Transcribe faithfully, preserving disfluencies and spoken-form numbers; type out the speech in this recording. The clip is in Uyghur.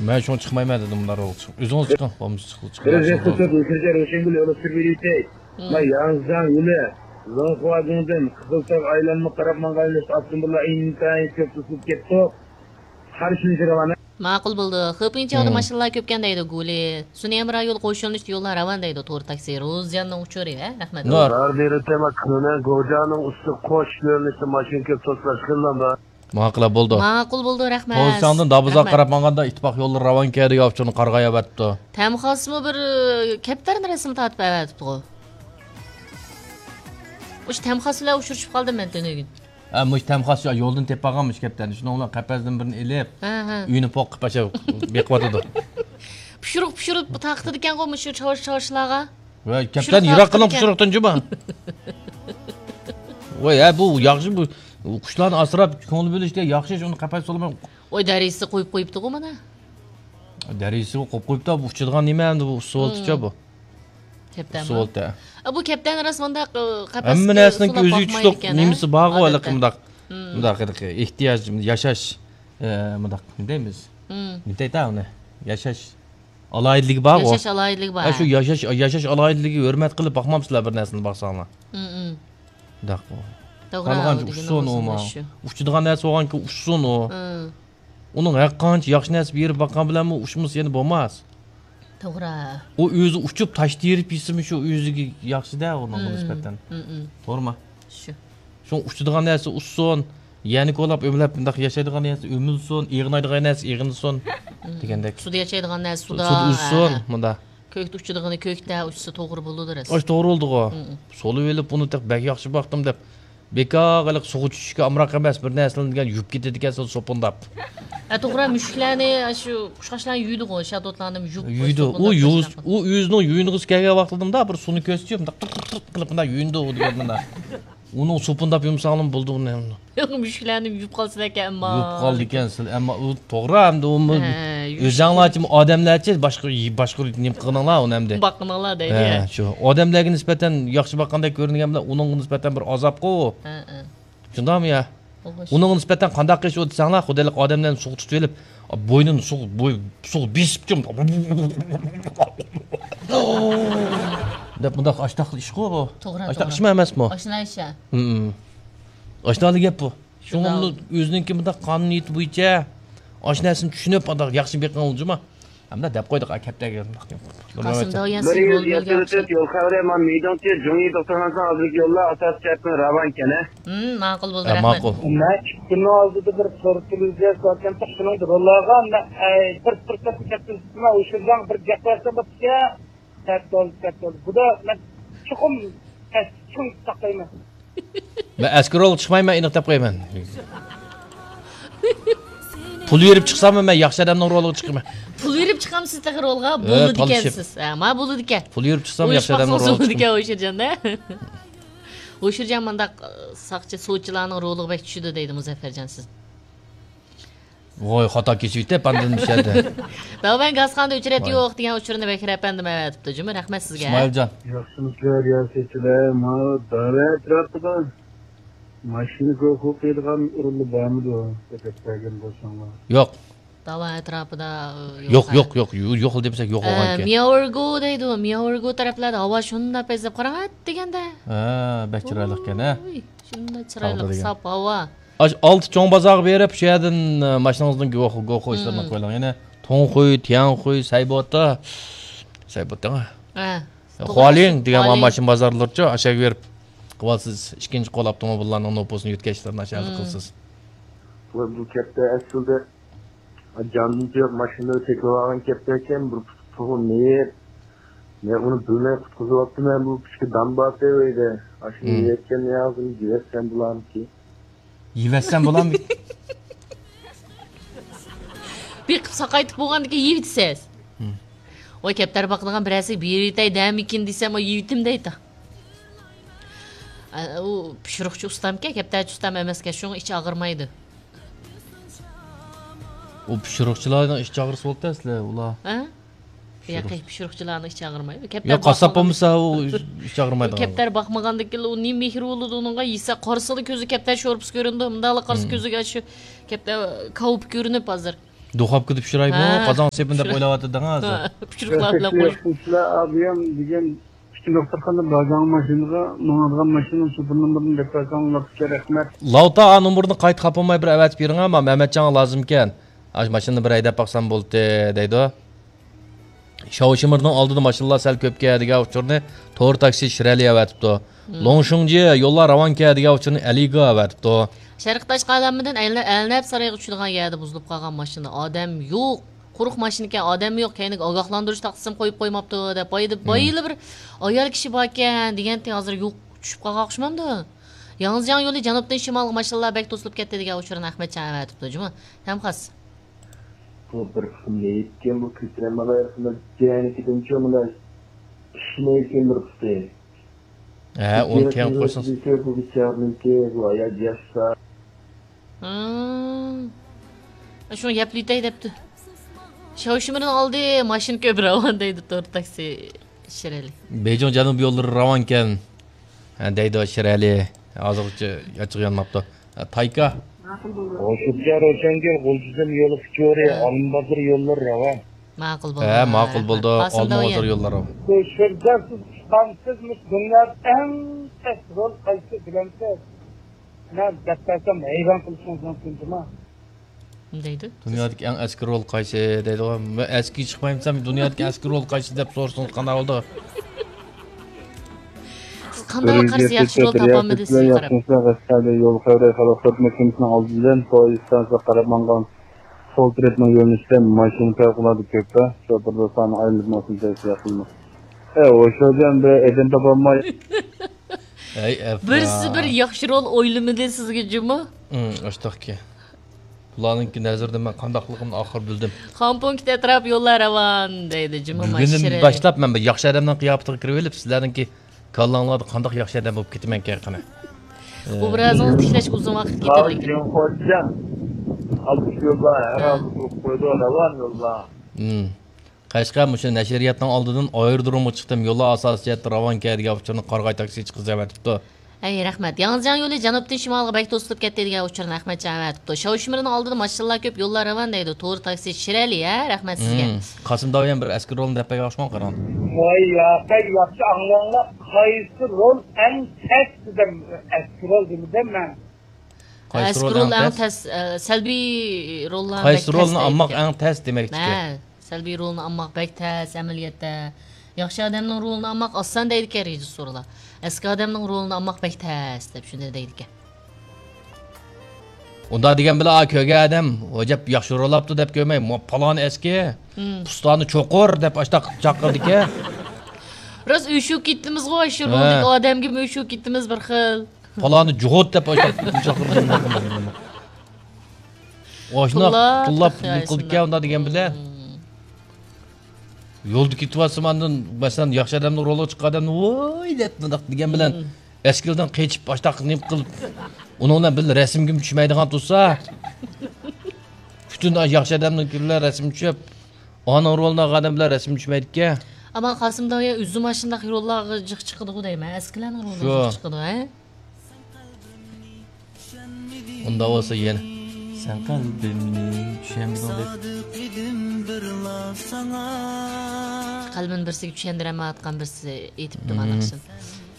مەن شۇڭا چىقمايمەن دېدىم، ئۇلار ئوغۇل چىق-، ئۆزىڭىز چىقىڭ، بولمىسا چىقىڭ، چىقىڭ. بىر رەسىم تۇتۇپ، ئۆتكۈزگەن روشەنگۈل يولى سۈرۈپ يۈرۈيتەي. مم. مانا ياڭزىجاڭ يولى، زۇڭخۇا گۇڭدىن، قىزىلتاغ ئايلانما قاراپ ماڭغان يولى ئاپتوموبىللار ئىنتايىن كۆپ توسۇلۇپ كەتتۇق. قارشى رەۋانە. ماقۇل بولدى. خېپىڭچاۋدا مم. ماشىنىلار كۆپكەن دەيدۇ گۇلى. سۇنيەمرا يول قوش يۆنىلىشتە يوللار راۋان دەيدۇ تور تاكسى. روزىياننىڭ ئۇچۇرى، ھە؟ رەھمەت. نۇر. زار بېرىتەما كۈنە گوجانىڭ ئۈستى قوش يۆنىلىشتە ماشىنا كۆپ توسۇلۇشقىنلار بار. ماقۇل بولدى. ماقۇل بولدى، رەھمەت. پوزىتسىيەڭدىن دابىزاغا رەھمەت. قاراپ ماڭغاندا ئىتتىپاق يوللىرى راۋانكەن دېگەن ئۇچۇرنى قارىغاي ئەۋەتىپتۇ. تەمخاسمۇ بىر، ئە، كەپتەرنى رەسىم تارتىپ ئەۋەتىپتىغۇ. ئۇش تەمخاس بىلەن ئۇچرىشىپ قالدىم مەن تۈنۈگۈن. ھە، مۇشۇ تەمخاس شۇ يولدىن تېپىپ ئالغان مۇشۇ كەپتەرنى. شۇنىڭ بىلەن قەپەسدىن بىرنى ئېلىپ، ھە، ھە. ئۆينى پوق قىلىپ ئاشۇ بېقىۋاتىدۇ. پىشۇرۇق، پىشۇرۇق تارقىتىدىكەنغۇ مۇشۇ چاۋاش، چاۋاشلارغا. ۋە كەپتەرنى يىراق قىلىڭ پىشۇرۇقتىن جۇما. ۋاي، ھە، بۇ ياخشى، بۇ قۇشلارنى ئاسراپ، كۆڭۈل بۆلۈشتە ياخشى، شۇنى قەپەس سولىماي. ئوي، دەرىجىسى قويۇپ قويۇپتىغۇ مانا. دەرىجىسى قويۇپ قويۇپتۇ، بۇ ئۇچىدىغان نېمە ئەمدى بۇ ئۇسسۇۋالتىچە بۇ. كەپتەرمۇ؟ ئۇسسۇۋالتە. ئا، بۇ كەپتەرنى راست مۇنداق، ئە، قەپەسكە ھەممە نەرسىنىڭ سولاپ ئۆزىگە باقمايدىكەن، تۇتۇق ھە؟ نېمىسى بارغۇ، ھېلىقى ئادەتتە. مۇنداق، مم. مۇنداق ھېلىقى ئېھتىياج، ياشاش، ئە، مۇنداق نېمە دەيمىز؟ مم. نېمە دەيتتى ئۇنى؟ ياشاش ئالاھىدىلىكى بارغۇ. ياشاش ئالاھىدىلىكى بار، ھە، شۇ ھە. ياشاش، ياشاش ئالاھىدىلىكىگە ھۆرمەت قىلىپ باقمامسىلەر بىر نەرسىنى باقساڭلار؟ مم، مم. مۇنداق. توغرا، خالىغانچە ئۇچسۇن ئۇمۇ. ئۇچىدىغان نەرسە بولغانكى ئۇچسۇن ئۇ. مم. ئۇنىڭ ھەر قانچە ياخشى نەرسە بېرىپ باققان بىلەنمۇ ئۇچمىسا يەنە بولماس. توغرا. ئۇ ئۆزى ئۇچۇپ تاش تېرىپ يېسىمۇ شۇ ئۆزىگە ياخشىدە ئۇنىڭغا مم. نىسبەتەن. مم، مم. توغرىمۇ؟ شۇ. شۇڭا ئۇچىدىغان نەرسە ئۇچسۇن. يەنە كولاپ ئۆمىلەپ مۇنداق ياشايدىغان نەرسە ئۆمۈلسۇن. ئېغىنايدىغان نەرسە ئېغىنسۇن. مم. دېگەندەك. سۇدا ياشايدىغان نەرسە سۇدا. سۇدا ئۇچسۇن، ھە. مۇنداق. كۆكتە ئۇچىدىغىنى كۆكتە ئۇچسا توغرا بولىدۇ راست. ئاشۇ توغرا بولدىغۇ. مم. سولىۋېلىپ ئۇنى تېخى بەك ياخشى باقتىم دەپ. بىكار ھېلىقى سۇغا چۈشۈشكە ئامراق ئەمەس، بىر نەرسىلەرنى دېگەن يۇيۇپ كېتىدىكەنسىز سوپۇنداپ. ھە، توغرا، مۈشۈكلەرنى، شۇ قۇشقاچلارنى يۇيىدىغۇ، شاتوتلارنى يۇيۇپ يۇيىدۇ. ئۇ سوپۇنداپ يۇيۇز-، تاشلاپ. ئۇ ئۆزىنىڭ يۇيۇنغۇسى كەلگەن ۋاقتىدا مۇنداق بىر سۇنى كۆرسىتىپ، مۇنداق تىرت، تىرت، تىرت قىلىپ مۇنداق يۇيۇنىدۇ ئۇ دېگەن مانا. ئۇنىڭ سوپۇنداپ يۇمىساڭلىمۇ بولىدۇ ئۇنى. يوق، مۈشۈكلەرنى يۇيۇپ قالسىلەركەن ئەمما. يۇيۇپ قالىدىكەنسىلەر، ئەمما ئۇ توغرا ئەمدى ئۇمۇ ھە، يۇيۇش ئۆزەڭلارچىمۇ ئادەملەرچە باشقا، باشقا نېمە قىلىڭلار ئۇنى ئەمدى. باققىنىڭلار دەيدۇ. ھە، شۇ. ئادەملەرگە نىسبەتەن ياخشى باققاندەك كۆرۈنگەن بىلەن ئۇنىڭغا نىسبەتەن بىر ئازابقۇ. ھە، ھە. شۇنداقمۇ يا؟ ئۇنىڭغا نىسبەتەن قانداق قىلىش ئۇ دېسەڭلار، خۇدايلىق ئادەملەرنى سۇغا تۇتۇۋېلىپ، بوينىنى سۇغا، بوي-، سۇغا بېسىپ، دەپ مۇنداق ئاشتاق ئىشقۇ بۇ. توغرا، ئاشتاق توغرا. ئىشمۇ ئەمەسمۇ؟ ئاشۇنداق ئىش ھە. ھىم. ئاشۇنداقلا گەپ بۇ. شۇڭا شۇنداق. ئۇنى ئۆزىنىڭكى مۇنداق قانۇنىيىتى بويىچە ئاشۇ نەرسىنى چۈشىنىپ، مۇنداق ياخشى بېقىڭ جۇما. ھەمدە دەپ قويدۇق، ئا، كەپتەرگە. قاسىم داۋ ياسىن بىر يۈز رول يەتتە بۆلگەن ئۈچ ئوخشايدۇ. يول خەۋىرى، مانا مىدىڭچى جۇڭيى توختىغان ساڭ ھازىرقى يوللار ئاساسىي جەھەتتىن راۋانكەن، ھە؟ ھىم، ماقۇل بولدى، ھە، رەھمەت. ماقۇل. مەن ئىككى كۈننىڭ ئالدىدا بىر سورۇق تېلېۋىزىيە كۆرگەن، شۇنىڭدا روللارغا مەن، ئەي، بىر پۇرسەتنى كەتكۈزۈپتىمەن، ئۇ شىرجاڭ بىر گەپ قىلسام بوپتىكەن. سەت بولدى، سەت بولدى. بۇدا مەن چوقۇم چىڭ ساقلايمەن. مەن ئەسكىرولغا چىقمايمەن، ئېنىق دەپ قويىمەن. پۇل بېرىپ چىقساممۇ مەن ياخشى ئادەمنىڭ رولىغا چىقىمەن. پۇل بېرىپ چىقامسىز تېخى رولغا؟ ھە، بولىدىكەنسىز. ھە، ما بولىدىكەن. پۇل بېرىپ چىقسام ياخشى ئادەمنىڭ رولىغا چىقىمەن. ھوشۇرجان، ھە؟ ھوشۇرجان مۇنداق، ئە، ساقچى، سوتچىلارنىڭ رولىغا بەك چۈشىدۇ دەيدۇ مۇزەففەرجان سىز. ۋوي، خاتا كېسىۋېتىپ ئاندىن مۇشەدە. داۋەن گازخانىدا ئۆچرەت ۋاي. يوق دېگەن ئۇچۇرنى بەكرى ئەپەندىم ئەۋەتىپتۇ جۇمۇ، رەھمەت سىزگە. ئىسمائىلجان. ياخشىمۇسىلەر رىياسەتچىلەر؟ ماۋۇ داۋا ئەتراپىدا ماشىنا گوخۇ قىلىدىغان ئورۇنلار بارمىدۇ؟ دىققەت بەرگەن بولساڭلار. يوق. داۋا ئەتراپىدا، ئە، يوق، يوق، يوق، يوق، يوق دېمىسەك يوق ئە، بولغانكەن. مياۋرگو دەيدۇ، مياۋرگو تەرەپلەردە ھاۋا شۇنداق پەيزىپ قاراڭ، ئەت دېگەندە. ھە، بەك چىرايلىقكەن، ھە. ۋوي، شۇنداق چىرايلىق، تاغدا دېگەن. ساپ ھاۋا. ئاش-، ئالتە چوڭ بازارغا بېرىپ، شۇ يەردىن، ئە، ماشىنىڭىزنىڭ گوخ-، گوخۇ ئىشلىرىنى مم. قويۇلۇڭ. يەنە توڭخۇي، تياڭخۇي، سەيبوتا، سەيبوتا، ھە. خوالىڭ دېگەن خوالىڭ. ماشىنا بازارلىرىچۇ، ئاشۇ يەرگە بېرىپ قىلىۋالسىز. ئىككىنچى قول ئاپتوموبىللارنىڭ نوپۇسىنى يۆتكەشلىرىنى ئاشۇ يەردە مم. قىلىسىز. بۇ، بۇ كەپتەر ئەسلىدە جاندىن تۇيۇپ ماشىنىلىرى چېكىۋالغان كەپتەر ئىكەن، بىر پۇتى مېيىپ. مەن ئۇنى بىلمەي قۇتقۇزۇۋاپتىمەن، بۇ كىچىكى دام بار ئۆيدە. ئاشۇنى مم. يەتكەن ياغزىنى يېۋەتسەم بولامتى؟ يېۋەتسەم بولامدۇ؟ بېقىپ ساقايتىپ بولغاندىن كېيىن يېۋىتىسىز. ھىم. ۋاي، كەپتەر باقىدىغان بىرەرسىگە بېرىۋېتەي دەمىكىن دېسەم، ۋاي، يېۋىتىم دەيدۇ. ئە، ئۇ پىشۇرۇقچى ئۇستامكەن، كەپتەرچى ئۇستام ئەمەسكەن، شۇڭا ئىچى ئاغرىمايدۇ. ئۇ پىشۇرۇقچىلارنىڭ ئىچى ئاغرىسا بولدى ئەسلى، ئۇلار. ھە؟ ياقى، پىشۇرۇق. پىشۇرۇقچىلارنىڭ ئىچى ئاغرىمايدۇ. كەپتەر يا، قاسساپ باقمىغان بولمىسا، ئۇ ئىچى ئاغرىمايدىغان. كەپتەر باقمىغاندىن كېيىن ئۇ نېمە مېھرى بولىدۇ ئۇنىڭغا؟ يېسە قارىسىلا كۆزى كەپتەر شورپىسى كۆرۈنىدۇ، مۇنداقلا قارىسا مم. كۆزىگە شۇ كەپتەر كاۋىپى كۆرۈنۈپ ھازىر. دۇخوپكىدا پىشۇرايمۇ، ھە، قازان سېپىن دەپ پىشۇر-، ئويلاۋاتىدىڭىز. ھە، پىشۇرۇقلار بىلەن قويۇپ. قوشۇمچىلار ئابىيام دېگەن ئىككى دوختۇرخانىدا بارغان ماشىنىغا، ماڭىدىغان ماشىنىنىڭ شوپۇر نومۇرىنى دەپ بەرسەڭ، لاتكە رەھمەت. لاۋتا، ئا نومۇرنى قايتا خاپا بولماي بىر ئەۋەتىپ بېرىڭە، ما مەمەتجانغا لازىمكەن. ئاشۇ ماشىنىنى بىر ھەيدەپ باقسام بولدى، دەيدۇ. شاۋشىمىرنىڭ ئالدىدا ماشىنىلار سەل كۆپكەن دېگەن ئۇچۇرنى تور تاكسى شىرئەلى ئەۋەتىپتۇ. مم. لوڭشۇڭجى يوللار راۋانكەن دېگەن ئۇچۇرنى ئەلىگا ئەۋەتىپتۇ. شەرقىي تاشقى ئالەمدىن ئەلنە-، ئەلنەپ سارايغا چۈشىدىغان يەردە بۇزۇلۇپ قالغان ماشىنا، ئادەم يوق. قۇرۇق ماشىنىكەن، ئادەم يوق. كەينىگە ئاگاھلاندۇرۇش تاختىسىمۇ قويۇپ قويماپتۇ، دەپ بايىدا، مم، بايىلا بىر ئايال كىشى باركەن دېگەنتى، ھازىر يوق، چۈشۈپ قالغان ئوخشىمامدۇ؟ ياڭزىجياڭ يولى جەنۇبتىن شىمالغا ماشىنىلار بەك توسۇلۇپ كەتتى دېگەن ئۇچۇرنى ئەخمەتجان ئەۋەتىپتۇ جۇمۇ. تەمخاس. بۇ بىر قىسىم مېيىپكەن، بۇ كۆتۈرەلمەي قاياقسىمۇ جەنىكىدىنچۇ مۇنداق ئىشلەيدىكەن بىر قىسىم. ھە، ئۇنى تېڭىپ قويسىڭىز. بۇ بىچارىنىڭكى، بۇ ھايات ياشسا. ھىم. شۇڭا يەپلىتەي دەپتۇ. شاۋشىمىرنىڭ ئالدى ماشىنا كۆپ راۋان دەيدۇ تور تاكسى شىرئەلى. بېيجىڭ جەنۇب يوللىرى راۋانكەن. ھە، دەيدۇ شىرئەلى. ھازىرغىچە ئاچچىقى يانماپتۇ. ھە، تايكا. ھوشۇرچە روشەنگۈل، غۇلجىدىن يول ئۇچۇرى، ھە، ئالمىبازار يوللىرى راۋان. ماقۇل بولدى. ھە، ماقۇل بولدى. قاسىم ئالمىبازار داۋۇيەن. يوللىرى راۋان. بۇ شىرجان سىز ئۇستامسىز، مۇشۇ دۇنيادا ئەڭ تەس رول قايسى بىلەمسىز؟ مەن دەپ بەرسەم ھەيران قېلىشىڭىز مۇمكىن جۇما. دەيدۇ. دۇنيادىكى ئەڭ ئەسكى رول قايسى دەيدىغۇ. مەن ئەسكى چىقمايمسەن، دۇنيادىكى ئەسكى رول قايسى دەپ سورىسىڭىز قانداق بولىدۇ؟ سىز قانداق قارىسا ياخشى رول تاپالمىدى سىزگە قاراپ. ياخشىمۇسىز؟ غەزىپلەردە يول خەۋىرى خەلق خىزمەت كومىتېتىنىڭ ئالدىدىن پويىز ئىستانسىغا قاراپ ماڭغان سول تەرەپنىڭ يۆنىلىشىدە ماشىنا پەۋقۇلئاددە كۆپ. شوپۇر دوستلارنى ئايلىنىپ ماشىنا چەكسە ياخشىمۇ؟ ئە، ھوشۇرجان بىر ئېدىن تاپالماي. ھەي، ئەپرا. بىرسى بىر ياخشى رول ئويلىمىدى سىزگە جۇمۇ؟ ئاشتاقكى. بۇلارنىڭكى نەزىرىدە مەن قانداقلىقىمنى ئاخىر بىلدىم. خامپۇڭكىت ئەتراپ يوللار راۋان دەيدۇ جۇمۇ. بۈگۈندىن باشلاپ مەن بىر ياخشى ئادەمنىڭ قىياپىتىگە كىرىۋېلىپ، سىلەرنىڭكى كاللاڭلاردا قانداق ياخشى ئادەم بولۇپ كېتىمەنكەن قېنى. ئوبرازىڭىزنى تىكلەشكە ئۇزۇن ۋاقىت كېتىدىكەن. خوجام. ئالقىش يوللار، ھەر ھالدا تۇرۇپ قويىدۇ، راۋان يوللار. قەشقەر، مۇشۇ نەشرىياتنىڭ ئالدىدىن ئايرودرومغا چىقتىم، يوللار ئاساسىي جەھەتتە راۋانكەن دېگەن ئۇچۇرنى قارىغاي تاكسىچى قىز ئەۋەتىپتۇ. ھەي، رەھمەت. ياڭزىجياڭ يولى جەنۇبتىن شىمالغا بەك توسۇلۇپ كەتتى دېگەن ئۇچۇرنى ئەخمەتجان ئەۋەتىپتۇ. شاۋشىمىرنىڭ ئالدىدا ماشىنىلار كۆپ، يوللار راۋان دەيدۇ. تور تاكسى شىرئەلى، ھە، رەھمەت سىزگە. قاسىم داۋۇيەن بىر ئەسكى رولنى دەپ بەرگەن ئوخشىمامدۇ قاراڭ. ۋاي ياقەي، ياخشى ئاڭلاڭلار، قايسى رول ئەڭ تەس دېدىم، ئەسكى رول دېمىدىم مەن. قايسى رول ئەڭ تەس؟ ئە، سەلبىي روللار بەك تەس دەيدىكەن. قايسى رولنى ئالماق ئەڭ تەس دېمەكچىكەن. ھە، سەلبىي رولنى ئالماق بەك تەس ئەمەلىيەتتە. ياخشى ئادەمنىڭ رولىنى ئالماق ئاسان دەيدىكەن رېژىسسورلار. ئەسكى ئادەمنىڭ رولىنى ئالماق بەك تەس دەپ شۇنداق دەيدىكەن. ئۇنداق دېگەن بىلەن، ئا، كۆرگەن ئادەم، ئوجاب ياخشى رول ئاپتۇ دەپ كۆرمەي، مو-، پالانى ئەسكى، پۇستانى چوقۇر دەپ ئاشتاق چاقىرىدىكەن. راست ئۆچۈپ كېتىمىزغۇ، شۇ رولدىكى ئادەمگىمۇ ئۆچۈپ كېتىمىز بىر خىل. پالانى جۇغۇت دەپ ئاشۇنداق چاقىرىدۇ. ئاشۇنداق تىللاپ نېمە قىلىدىكەن ئۇنداق دېگەن بىلەن. يولدا كېتىۋاتسام ئاندىن، مەسىلەن، ياخشى ئادەمنىڭ رولىغا چىققان ئادەمنى ۋوي دەپ مۇنداق دېگەن بىلەن، ئەسكىلدىن قېچىپ ئاشۇنداق نېمە قىلىپ، ئۇنىڭ بىلەن بىللە رەسىمگىمۇ چۈشمەيدىغان تۇرسا، پۈتۈن ياخشى ئادەمنىڭكى بىلەن رەسىم چۈشۈپ، ئانىڭ رولىنى ئالغان ئادەم بىلەن رەسىم چۈشمەيدىكەن. ئەمما قاسىم داۋۇيە ئۆزىمۇ ئاشۇنداق روللارغا جىق چىقىدىغۇ دەيمەن، ئەسكىلەرنىڭ رولىغا جىق چىقىدۇ، ھە؟ ئۇنداق بولسا يەنە سەن قەلبىمنى چۈشەنمىدىڭ دەپ. قەلبىمنى بىرسىگە چۈشەندۈرەلمەيۋاتقان بىرسى ئېيتىپتۇ مانا ئاشۇنى.